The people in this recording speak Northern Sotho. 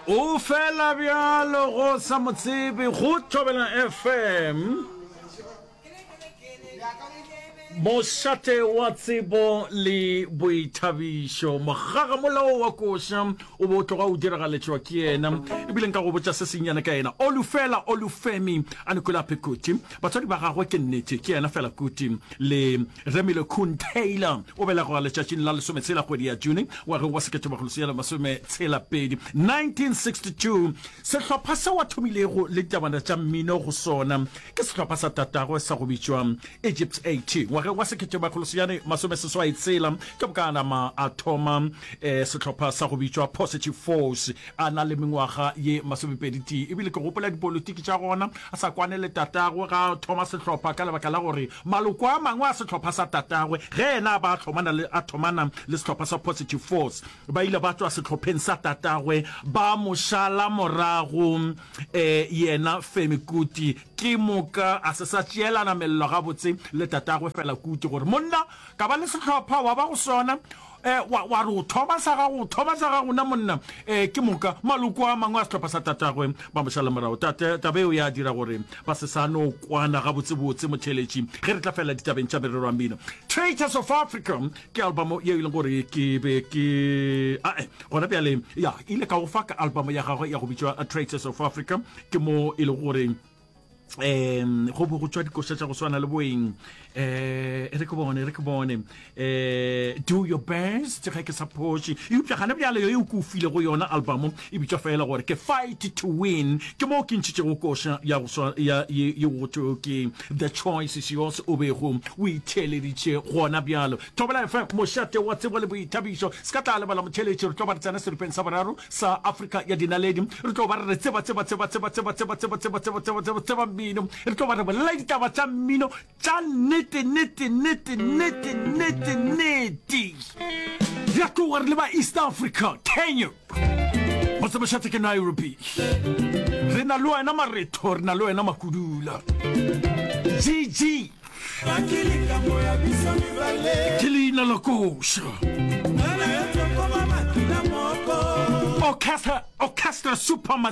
O fela bjalo go sa mo tsebe go Thobela FM. Mošate wa tsebo le boithabišo. Mogagamolao wa koša o be o tloga o diragaletšwa ke yena. Ebile nka go botša se sennyane ka yena. Olufela Olufemi Anikulapo Kuti. Batswadi ba gagwe ke nnete ke yena Fela Kuti le Remile Kuhn Taylor. O belegwa letšatšing la lesometshela kgwedi ya June ngwageng wa 1962, 1962. Sehlopha seo a thomilego le ditabana tša mmino go sona ke sehlopha sa tatagwe sa go bitšwa Egypt 80. Ngwageng wa 1986 ke moka a nama a thoma sehlopha sa go bitšwa Positive Force a na le mengwaga ye masomepedi-tee. Ebile ke gopola dipolitiki tša gona a sa kwane le tatagwe ga a thoma sehlopha ka lebaka la gore maloko a mangwe a sehlopha sa tatagwe ge yena a ba a hlomana le a thomana le sehlopha sa Positive Force ba ile ba tšwa sehlopheng sa tatagwe ba mo šala morago yena Femi Kuti ke moka a se sa tšeelana mello gabotse le tatagwe Fela Kuti gore monna ka ba le sehlopha wa ba go sona Eh, wa, wa re o thoma sa gago, o thoma sa gago na monna. Eh, ke moka maloko a mangwe a sehlopha sa tatagwe ba mo šala morago. Tate, taba eo ya dira gore ba se sa no kwana gabotsebotse motheeletši ge re tla fela ditabeng tša merero ya mmino. Traitors of Africa ke albamo yeo e leng gore ke be ke ae gona bjale ya ile ka go fa ka albamo ya gagwe ya go bitšwa Traitors of Africa ke mo e lego gore um go bo go tšwa dikoša tša go swana le boeng um e re ke bone e re ke bone um do your best ge ke sa phoše eupša gane bjale yo eo ke o file go yona album e bitšwa fela gore ke fight to win ke moo ke ntšhitšego koša ya go swa ya ye ye go thwego ke the choice is yours o bego o itheeleditše gona bjalo thobela fm mošate wa tsebo le boithabišo se ka tla lebala motheeletši re tlo ba re tsena seripeng sa boraro sa Afrika ya dinaledi. Re tlo ba re re tseba, tseba, tseba, tseba, tseba, tseba, tseba, tseba, tseba, tseba, tseba, tseba mmino. Re tlo ba re bolela ditaba tša mmino tša nnete, nnete, nnete, nnete, nnete, nnete. Re a tloga re leba East Africa, Kenya. Motsemošate ke Nairobi. Re na le wena Maretho, re na le wena Makudula. GG. Ke leina la koša. Orchestra, Orchestra Super Mazi.